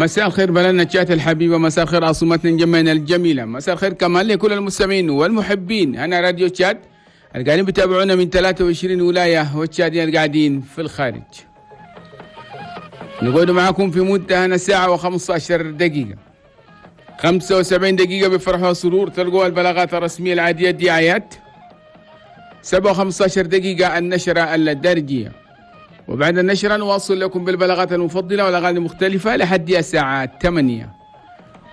مساء الخير بلدنا تشاد الحبيبة، مساء الخير عاصمتنا انجمينا الجميلة، مساء الخير كمان لكل المستمعين والمحبين. أنا راديو تشاد اللي قاعدين بتابعونا من 23 ولاية والتشاديين اللي قاعدين في الخارج. نقعد معكم في مدة هنا ساعة و15 دقيقة، 75 دقيقة بفرح وسرور تلقوا البلاغات الرسمية العادية الدعايات، 7:15 دقيقة النشرة الدارجية، وبعد النشرة نواصل لكم بالبلاغات المفضلة والأغاني المختلفة لحد الساعة 8.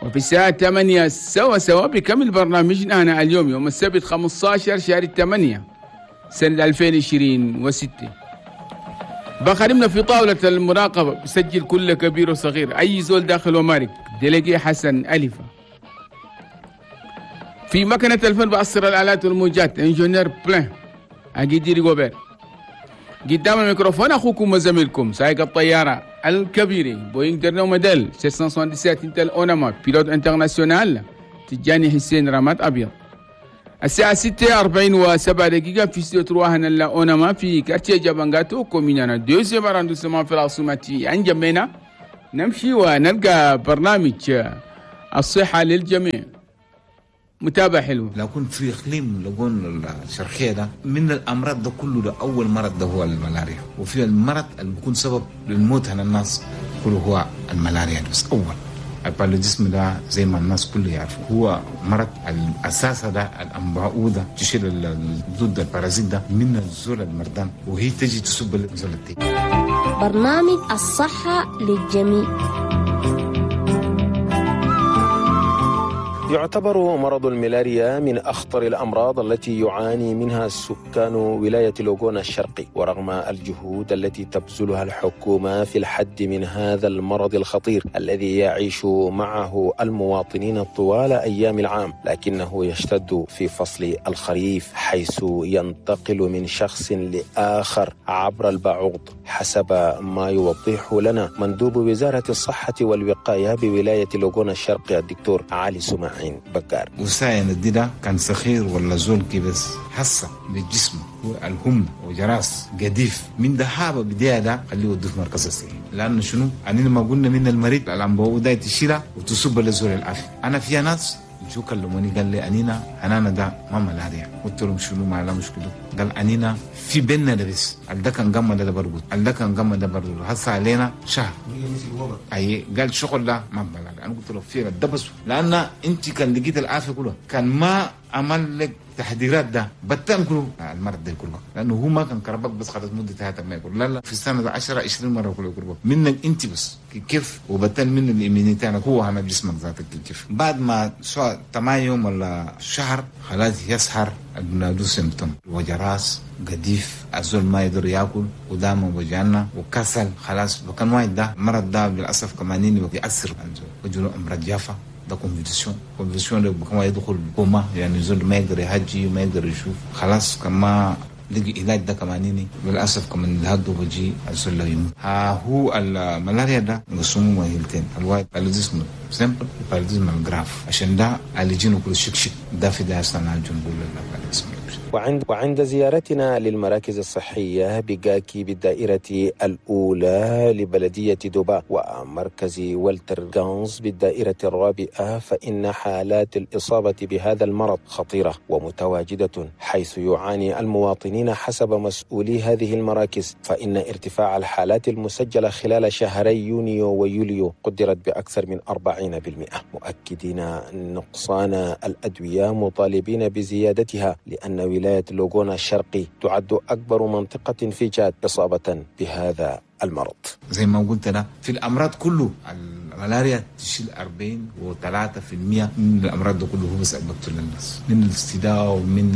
وفي الساعة 8 سوا سوا بكمل برنامجنا هنا اليوم يوم السبت 15 شهر 8 سنة 2026. بخدمنا في طاولة المراقبة بسجل كل كبير وصغير، أي زول داخل ومارك، délégué حسن ألفة. في مكنة الفن بأسر الآلات والموجات ingénieur بلان أجيدي ريغوبير. قدام الميكروفون أخوكم وزميلكم سائق الطيارة الكبير بوينغ dernier modèle 777 Intel أوناما pilote international تجاني حسين رماد أبيض. الساعة 6:47 في استوديو trois هنا أوناما في quartier جابانغاتو commune deuxième arrondissement في العاصمة أنجمينا. نمشي ونلقى برنامج الصحة للجميع، متابعة حلوة. لو كنت في إقليم لقون الشرقية ده من الأمراض ده كله، ده أول مرض ده هو الملاريا، وفي المرض اللي بيكون سبب للموت على الناس كله هو الملاريا. بس أول ال paludisme ده زي ما الناس كله يعرفوا هو مرض الأساس ده الأنباء تشيل ضد ال parasite ده من الزول المردان وهي تجي تصب الزول التاني. برنامج الصحة للجميع. يعتبر مرض الملاريا من أخطر الأمراض التي يعاني منها سكان ولاية لوغونا الشرقي، ورغم الجهود التي تبذلها الحكومة في الحد من هذا المرض الخطير الذي يعيش معه المواطنين طوال أيام العام، لكنه يشتد في فصل الخريف حيث ينتقل من شخص لآخر عبر البعوض، حسب ما يوضح لنا مندوب وزارة الصحة والوقاية بولاية لوغونا الشرقي الدكتور علي سماعين بكار. وساين الديدة كان صغير ولا زول كي بس حصة بالجسم الهم وجراس قديف من دهابة بداية ده خليه يوديه في مركز الصحي، لأنه شنو؟ أننا ما قلنا من المريض الأنبوء ده تشيله وتصب لزول العافية. أنا في ناس شو كلموني قال لي أنينا أنا ده ما ملاريا، قلت لهم شنو ما لا مشكلة، قال أنينا في بيننا ده بس ده كان قمة ده برقد ده كان قمة ده برقد هسه علينا شهر أي قال شغل ده ما ملاريا. أنا قلت له في ده بس لأن أنت كان لقيت العافية كلها كان ما عمل لك تحذيرات ده بتم كله المرض ده كله، لانه هو ما كان كربك بس خلاص مده ثلاثة ما يقول لا لا في السنة 10 20 مرة كله يكربك منك انت بس كيف، وبتن من ال immunité هو هم جسمك ذاتك كيف. بعد ما سواء 8 يوم ولا شهر خلاص يسهر البنادو symptômes وجع راس قديف الزول ما يقدر ياكل ودامه وجعنا وكسل خلاص. وكان واحد ده المرض ده للاسف كمان بيأثر وجوله امراض جافة ده convulsion ده كمان يدخل كوما، يعني زول ما يقدر يهجي وما يقدر يشوف خلاص. كما لقي علاج ده كمان للاسف كمان الهدو بجي الزول لا يموت. ها هو الملاريا ده نقسمه مهلتين، الواحد paludisme simple paludisme grave، عشان ده اللي كل شك ده في ده اصلا نقول لا. وعند زيارتنا للمراكز الصحية بجاكي بالدائرة الأولى لبلدية دوبا ومركز والتر غانز بالدائرة الرابعة، فإن حالات الإصابة بهذا المرض خطيرة ومتواجدة، حيث يعاني المواطنين حسب مسؤولي هذه المراكز. فإن ارتفاع الحالات المسجلة خلال شهري يونيو ويوليو قدرت بأكثر من 40%، مؤكدين نقصان الأدوية مطالبين بزيادتها، لأن ولاية لوغونا الشرقي تعد أكبر منطقة في تشاد إصابة بهذا المرض. زي ما قلت أنا في الأمراض كله الملاريا تشيل 43% من الأمراض ده كله، هو بس بقتل الناس من الاستداء ومن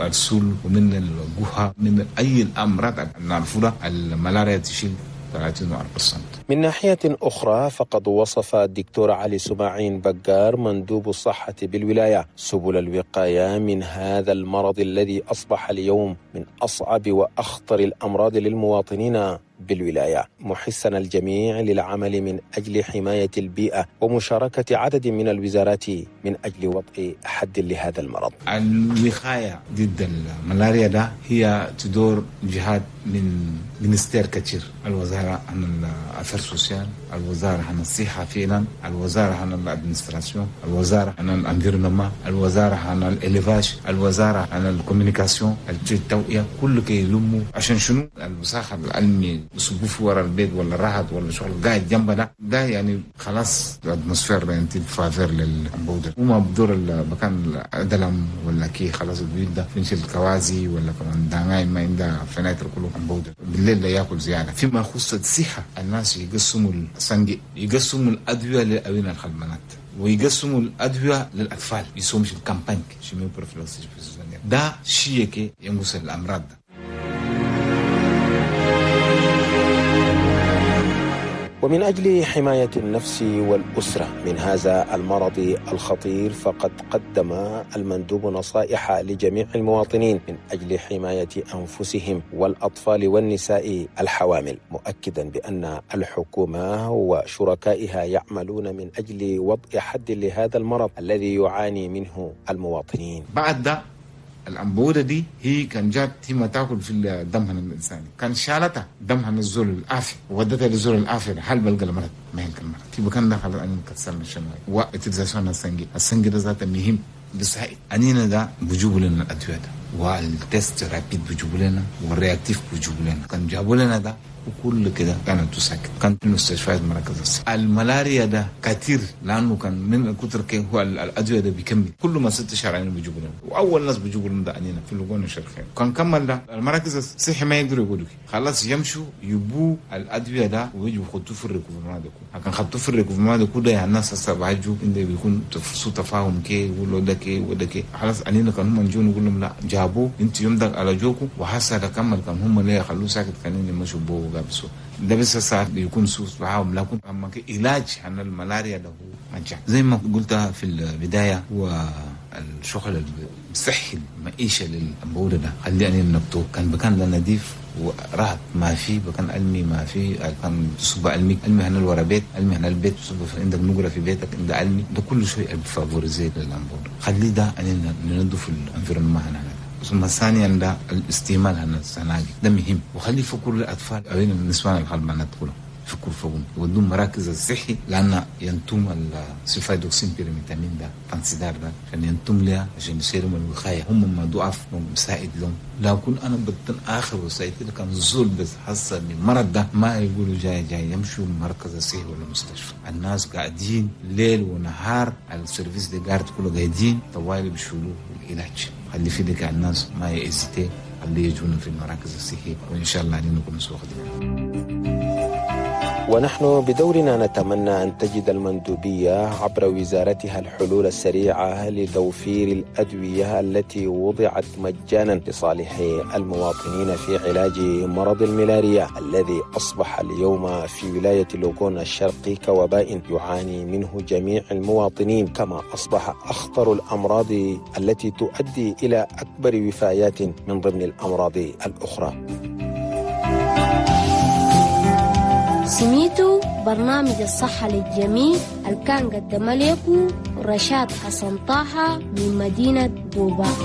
السل ومن الجوهة من أي الأمراض نعرفها الملاريا تشيل 34%. من ناحية أخرى، فقد وصف الدكتور علي سماعين بقار مندوب الصحة بالولاية سبل الوقاية من هذا المرض الذي أصبح اليوم من أصعب وأخطر الأمراض للمواطنين بالولاية، محسا الجميع للعمل من أجل حماية البيئة ومشاركة عدد من الوزارات من أجل وضع حد لهذا المرض. الوقاية ضد الملاريا ده هي تدور جهات من ministère كثير، الوزارة عن ال affaires sociales، الوزارة عن الصحة فعلا، الوزارة عن ال administration، الوزارة عن ال environnement، الوزارة عن ال élevage، الوزارة عن ال communication، التوعية، كل كي يلموا عشان شنو؟ الوساخة العلمي بصبوا ورا البيت ولا الرهط ولا شغل قاعد جنبنا ده يعني خلاص ال atmosphère انت faveur للبودر وما بدور المكان الدلم ولا كي خلاص البيوت ده فينش الكوازي ولا كمان داناي ما عندها فناتر كله بودر بالليل لا ياكل زيادة. فيما يخص الصحة الناس يقسموا السنجي، يقسموا الادوية للاوين الخلمانات ويقسموا الادوية للاطفال، يسومش ال campagne chimioprophylaxie ده شيء ينقص الامراض ده. ومن أجل حماية النفس والأسرة من هذا المرض الخطير، فقد قدم المندوب نصائح لجميع المواطنين من أجل حماية أنفسهم والأطفال والنساء الحوامل، مؤكدا بأن الحكومة وشركائها يعملون من أجل وضع حد لهذا المرض الذي يعاني منه المواطنين. بعد ده الأنبودة دي هي كان جات هي ما تاكل في الدم هنا الإنساني، كان شالتها دم هنا الزول الآفي وودتها للزول الآفي، هل بلقى المرض؟ ما هلك المرض في مكان ده خلاص أنا كسرنا الشمال و utilisation السنجي، السنجي ده ذاته مهم بساعد أنينا ده بجيبوا لنا الأدوية ده وال test rapide بجيبوا لنا وال réactif بجيبوا لنا، كان جابوا لنا ده وكل كده كانت تسكت. كان في المستشفيات مراكز الصحة الملاريا ده كثير لأنه كان من كتر كي هو الأدوية ده بيكمل كل ما 6 شهور بيجيبوا لنا، وأول ناس بيجيبوا لنا ده أنينا في اللجون الشرقية. كان كمل ده المراكز الصحة ما يقدروا يقولوا خلاص يمشوا يبوا الأدوية ده ويجوا يخطوه في ال recouvrement ده، كان خطوة في ال recouvrement ده كده يعني الناس هسه بعجوا إن بيكون سوء تفاهم كي يقولوا ده كي وده كي خلاص أنينا كان هم نجون نقول لهم لا جابوه أنت يوم ده على جوكو وحسا ده كمل، كان هم ليه خلوه ساكت كانوا يمشوا بوه ده بس ساعات بيكون سوس معاهم، لكن اما علاج عن الملاريا ده هو منجح زي ما قلت في البداية. هو الشغل الصحي المعيشة للأنبولة ده خلي أن نبتو كان بكان ده نظيف ورهط ما في بكان علمي ما في كان تصب علمي علمي هنا الورا بيت علمي هنا البيت تصب عندك نقرة في بيتك عند علمي ده كل شيء favoriser للأنبولة. خلي ده أن ننظف ال environnement هنا. ثم ثانيا ده الاستعمال هنا السناجي ده مهم، وخلي فكر الاطفال اوين النسوان الغلبانات كلهم فكر فوقهم ودون مراكز الصحي لان ينتم ال sulfadoxine pyriméthamine ده Fansidar ده عشان ينتم لها عشان يصيروا من الوقاية هم ما ضعف مساعد لهم. لكن انا بطن اخر وسائل كان زول بس حصل بالمرض ده ما يقولوا جاي جاي يمشوا المركز الصحي ولا المستشفى. الناس قاعدين ليل ونهار على ال service de garde كله قاعدين طوال بيشيلوا العلاج. خلي في ديك الناس ما ي hésiter، خلي يجونا في المراكز الصحية وإن شاء الله علينا نكون سوق. ونحن بدورنا نتمنى أن تجد المندوبية عبر وزارتها الحلول السريعة لتوفير الأدوية التي وضعت مجانا لصالح المواطنين في علاج مرض الملاريا الذي أصبح اليوم في ولاية لوغون الشرقي كوباء يعاني منه جميع المواطنين، كما أصبح أخطر الأمراض التي تؤدي إلى أكبر وفايات من ضمن الأمراض الأخرى. سميتو برنامج الصحة للجميع اللي كان قدم لكم رشاد حسن طه من مدينة بوبا.